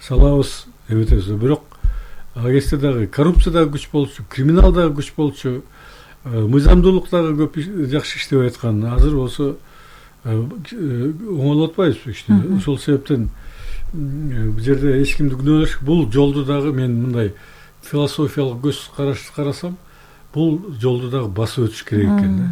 салабыз эметебиз. Бирок ал кезде дагы коррупция дагы күч болчу, криминал дагы күч болчу, мыйзамдуулук дагы көп жакшы иштебей аткан. Азыр болсо оңолуп атпайбызбы ишти. Ошол себептен бул жерде эч кимди күнөөлөш, бул жолду дагы мен мындай философиялык көз карашты карасам, бул жолду дагы басып өтүш керек экен да.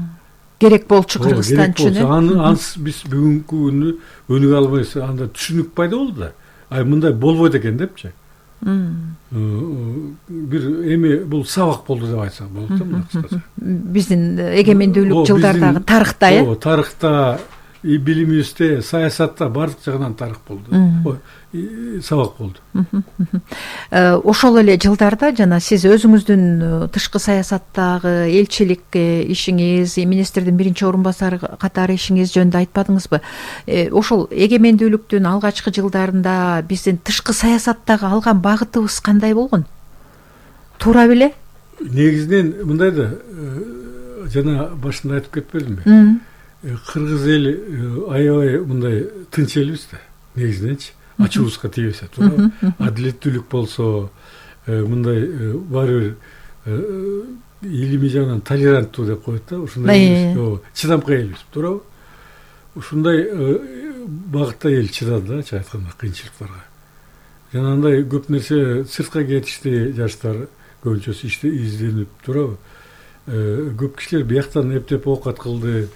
Керек болчу Кыргызстан үчүн. Ансыз биз бүгүнкү күнү өнүгө албайбыз. Анда түшүнүк пайда болду да. Мындай болбойт экен депчи. Бир эми бул сабак болду деп айтсак болот да, мына кыскача. Биздин эгемендүүлүк жылдардагы тарыхта, тарыхта, билимибизде, саясатта бардык жагынан тарых болду. Сабак болду. Ошол эле жылдарда жана сиз өзүңүздүн тышкы саясаттагы элчилик ишиңиз, министрдин биринчи орун басары катары ишиңиз жөнүндө айтпадыңызбы? Ошол эгемендүүлүктүн алгачкы жылдарында биздин тышкы саясаттагы алган багытыбыз кандай болгон? Туура беле? Негизинен мындай да, жана башында айтып кетпедимби? Кыргыз эли аябай мындай тынч элбиз да, негизиненчи. Ачуубузга тийбесе, туура. Адилеттүүлүк болсо, мындай баары бир илимий жагынан толеранттуу деп коет да, ушундай чыдамкай элбиз, туурабы? Ушундай багытта эл чыдады да, чын айтканда, кыйынчылыктарга. Жана андай көп нерсе сыртка кетишти, жаштар көбүнчөсү изденип, туурабы? Көп кишилер бияктан эптеп оокат кылды.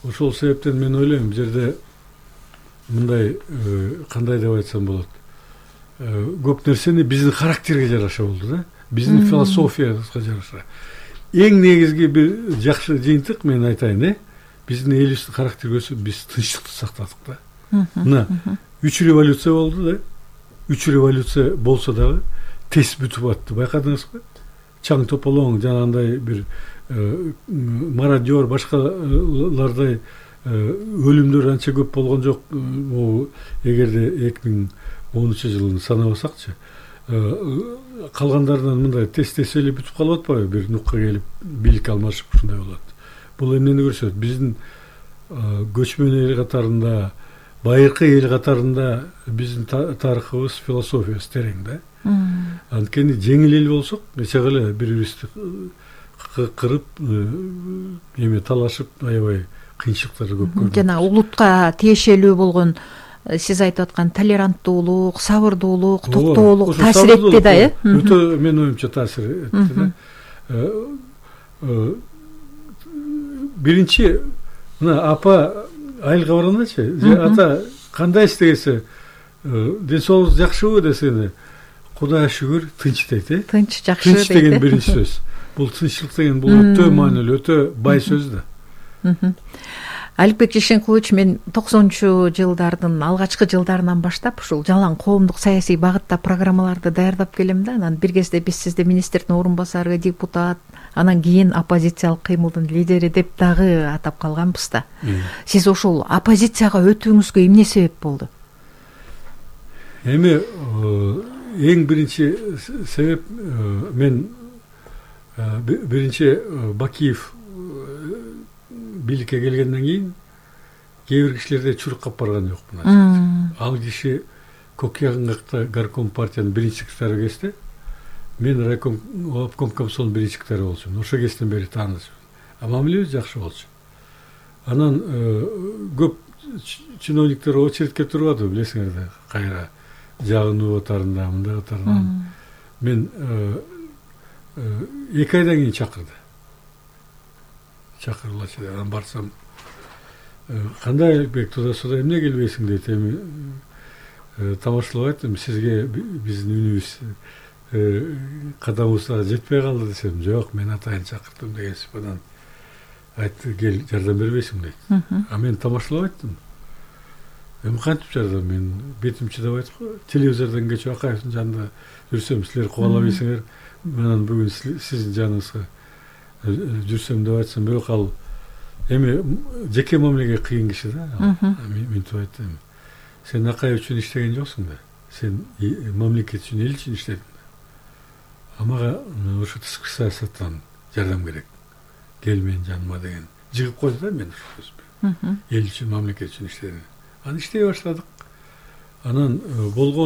Ошол себептен мен ойлойм, бул жерде мындай кандай деп айтсам болот. Көп нерсени биздин характерге жараша болду да, биздин философиябызга жараша. Эң негизги бир жакшы жыйынтык мен айтайын, биздин элибиздин характери өсүп, биз тынчтыкты сактадык да. Мына 3 революция болду да. 3 революция болсо дагы тез бүтүп атты. Байкадыңызбы? Чаң тополоң жанагындай бир мародер, башкалардай өлүмдөр анча көп болгон жок. Эгерде 2010-жылын санабасакчы, калгандарынан мындай тез эле бүтүп калып атпайбы, бир нукка келип бийлик алмашып ушундай болот. Бул эмнени көрсөтөт? Биздин көчмөн эл катарында, байыркы эл катарында биздин тарыхыбыз, философиябыз терең да. Анткени жеңил эл болсок, эчеге эле бири-бирибизди кырып, талашып, аябай кыйынчылыктарды көп көрдүк. Жана улутка тиешелүү болгон сиз айтып аткан толеранттуулук, сабырдуулук, токтоолук таасир этти да, Өтө мен оюмча таасир этти да. Биринчи мына апа айылга баргандачы, ата кандай иштегесе, ден соолугуңуз жакшыбы десене, Кудайга шүгүр, тынч дейт, Тынч, жакшы дейт. Тынч деген биринчи сөз. Бул тынччылык деген бул өтө маанилүү, өтө бай сөз да. Аликбек Жишенкулович, мен 90-жылдардын алгачкы жылдарынан баштап ушул жалаң коомдук саясий багытта программаларды даярдап келем да. Анан бир кезде биз сизди министрдин орун басары, депутат, анан кийин оппозициялык кыймылдын лидери деп дагы атап калганбыз да. Сиз ошол оппозицияга өтүүңүзгө эмне себеп болду? Эми эң биринчи себеп, мен биринчи Бакиев бийликке келгенден кийин кээ бир кишилерде чурк кап барган жокмун. Ал киши Кокуягынга горком партиянын биринчи секретары кезде, мен райком обком комсомолдун биринчи секретары болчумун. Ошол кезден бери таанышпыз. Мамилебиз жакшы болчу. Анан көп чиновниктер очередке турбады, билесиңер да, кайра жагынуу катарында, мындай катарында. Мен 2 айдан кийин чакырды. Чакырылачы, анан барсам, кандай Аликбек, туда-суда эмне келбейсиң дейт. Эми тамашалап айттым, сизге биздин үнүбүз, кадамыбызга жетпей калды десем, жок, мен атайын чакырдым деген сыпадан айтты, кел жардам бербейсиң дейт. Мен тамашалап айттым. Эми кантип жардам, мен бетим чыдабай атпайбы, телевизордон кечип Акаевдин жанында жүрсөм, силер кубалабайсыңар, менен бүгүн сиздин жаныңызга жүрсөм деп айтсам, бирок ал эми жеке мамилеге кыйын киши да. Мынтип айттым. Сен Акаев үчүн иштеген жоксуң да. Сен мамлекет үчүн, эл үчүн иштедиң да. Мага ошо тышкы саясаттан жардам керек. Кел менин жаныма деген. Жыгып койду да мен ошо. Эл үчүн, мамлекет үчүн иштедим. Анан иштей баштадык. Анан болгон